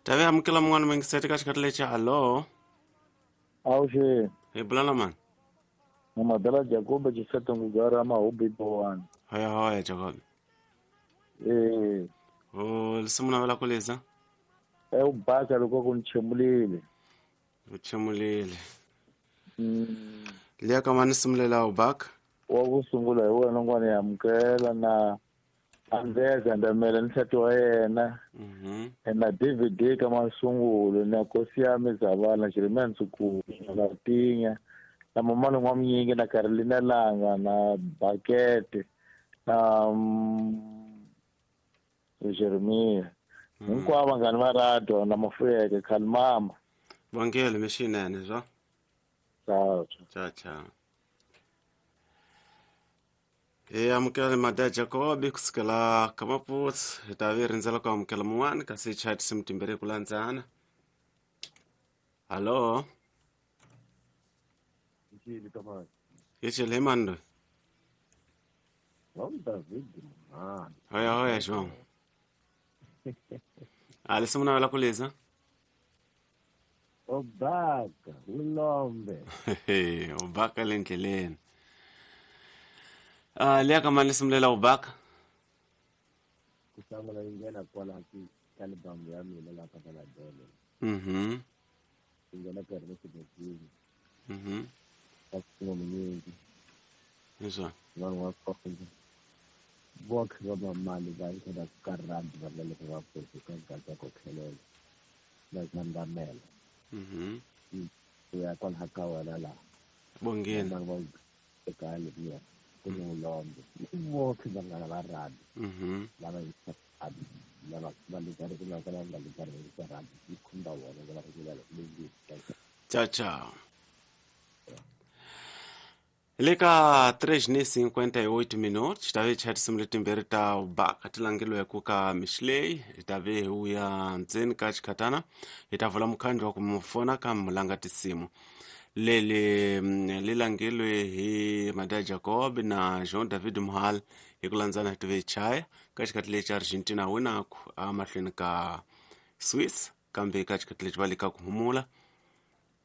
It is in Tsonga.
Tavi amukela mun'wana mingiseti ka xikhathi lexi. Hallo. Awuxeni. Hi bula na mani? Mumadala Jacob Chisete Ngugara Mahubi Bowani. Hoya hoya Jacob. Eh. O lisimu navela ku liza? E u basa loko ku nchemulile. U chemulile. Liya ka mani simulela u baka? Wa ku sungula hi wena n'wana ya amukela na Andrea Gandamela ni nsati wa yena. Na DVD ka masungulo na Nkosi ya Mizavala Jeremiah Ntsukulu na Latinya na Mamani N'wamunyingi na Carolina Langa na Bakete na Jeremiah. Hinkwavo vanghani va radio na Mafuyeke Khalimama. Vongele mixinene zwa. Ciao. Ciao ciao. Hi amukela Madya Jacob kusukela ka Maputo hi ta vi rindzela ku amukela mun'wana kasi hi chaya tinsimu timbirhi hi ku landzana. Hallo. Hi chele hi mani loyi? Hoya hoya João. A lisimu navela ku liza? Obaka, ulombe. Ubaka le ndleleni. Liya ka mani lisimu lela ubaka? Ku sungula yi nghena kwala ki album ya mina la ka Maladele. Yi nghena ka ri xibedhlele. Ka xin'wana. Leswa. Vanhu va kona. Vokhe va mamali va yi ka ka rand va le va pfuka ka ka ku tlhelela. Na Gandamela. Ya kwala ka wena la. Bongeni. Vanhu va eka leriya. Ku ni ulombe. Vokhe vanghana va rand. Lava yi lava va le karhi ku nga ka nga le karhi ka rand yi khumba vona va ri leyi. Ciao ciao. Le ka 3:58 minutos ta ve chaya tinsimu letimbirhi ta ubaka ti langeliweke ka mixilei hi ta ve hi wuya ndzeni ka xikhatana hi ta vula mukhandlu wa ku mu fona ka mulanga tinsimu leli li langeliwe hi Madya Jacob na Jean David Muhal hi ku landzana hi tive chaya ka xikhathi lexi Argentina winaku amahlweni ka Swiss kambe ka xikhathi lexi va le ka ku humula.